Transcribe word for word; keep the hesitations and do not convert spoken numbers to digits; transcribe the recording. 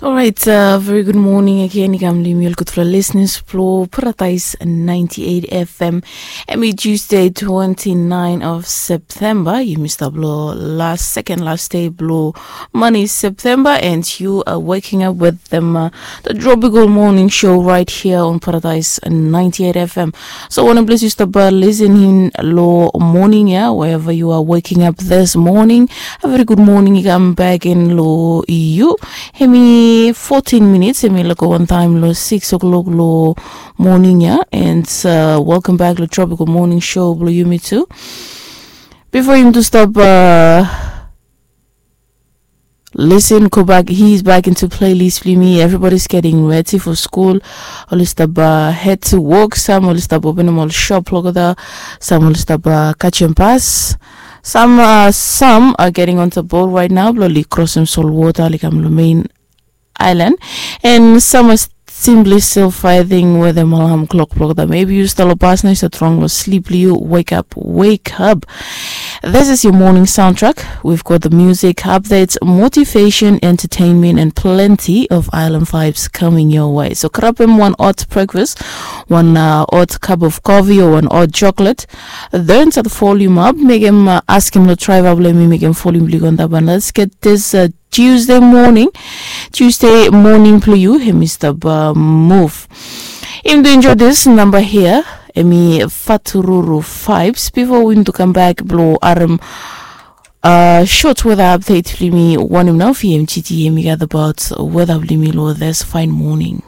Alright, uh, very good morning again. I kam long yumi ol gudfala listeners blo Paradise ninety-eight F M. Hemi Tuesday, twenty-nine of September. Yumi stap long last, second last day blo month September, and you are waking up with them, uh, the Tropical Morning Show right here on Paradise ninety-eight F M. So wanem ples yu stap, uh, listening long morning ya, wherever you are waking up this morning, a very good morning i kam bek gen long yu. Hemi fourteen minutes, hemi laik go wantaem long six o'clock long morning ya, and, uh, welcome back long Tropical Morning Show blo yumi tu. Bifo yumi tu stap, uh, listen, go back, he's back into playlist blo yumi. Everybody's getting ready for school. Oli stap, uh, head to work. Sam oli stap openem ol shop olgeta. Sam oli stap, uh, catchem bus. Sam, uh, sam are getting on the boat right now blo oli krosem solwota oli kam long main island. And sam are simply still fighting wetem alarm clock blo olgeta. Maybe yu stap long bus nao yu stap strong long sleep blo yu, wake up, wake up. This is your morning soundtrack. We've got the music updates, motivation, entertainment, and plenty of island vibes coming your way. So grab him one hot breakfast, one, uh, hot cup of coffee, or one hot chocolate. Then set the volume up, mekem, uh, askem long driver blo yumi mekem volume blo yu go antap, and let's get this, uh, Tuesday morning, Tuesday morning blo yu hemi stap, uh, move. Yumi tu enjoy this number here, hemi Fatururu Vibes. Bifo yumi tu kam bek blo harem, uh, short weather update blo yumi, wanem nao V M G T hemi gat abaot weather blo yumi long this fine morning.